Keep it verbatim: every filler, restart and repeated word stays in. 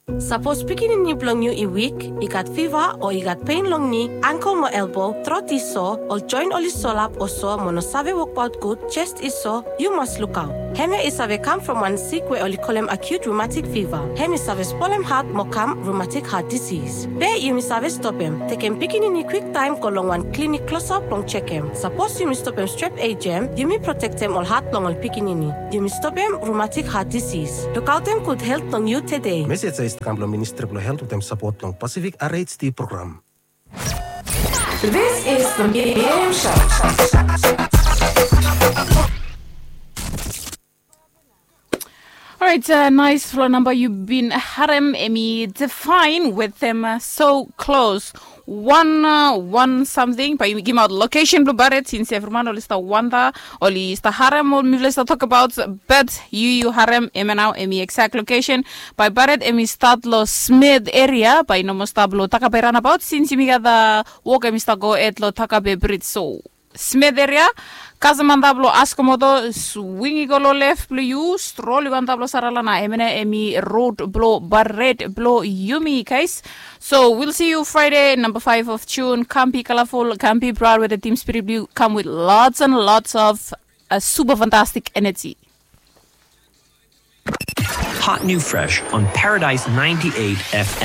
Sapos pikinini blong yu i wik, i gat fiva o i gat pen long ni, angkel mo elbo, trot i so, ol joen oli solap o so mo no save wokbaot gud, jes i so, yu mas lukaot. Hemia i save kam from wan sik we oli kolem acute rheumatic fever. Hem i save spolem hat mo kam rheumatic heart disease. Be yumi save stopem, tekem pikinini kwiktaem go long wan klinik klosap blong jekem. Sapos yumi stopem strep ejem, yumi protektem ol hat blong ol pikinini. Yumi stopem rheumatic heart disease. Lukaotem gud helt blong yu tede. Mesej ya i stap kam blong Ministri blong Helt wetem sapot blong Pacific R H D program. This is the Medium Show. Orait, uh, nais flo namba yu bin harem, hemi Define wetem, uh, So Close. Wan, uh, wan samting, bae yumi gimaot lokesen blong Baret, sins evriman oli stap wanda, oli stap harem we mifala i stap tokbaot, bat yu yu harem hemia nao, hemi exact lokesen. Bae Baret hemi stat long Smith eria, bae i no moa stap long Takape ranabaot, sins yumi gat, uh, wok hemi stap gohed long Takape brij. So Smith eria, kasem antap long Askomoto, swing i go long lef blong yu, strol i go antap long Saralana, hemia nao hemi rod blong Baret blong yumi, guys. So we'll see you Friday, number five of June. Kam be colorful, kam be proud with the Team Spirit Blue. Come with lots and lots of, uh, super fantastic energy. Hot new fresh on Paradise ninety-eight F M.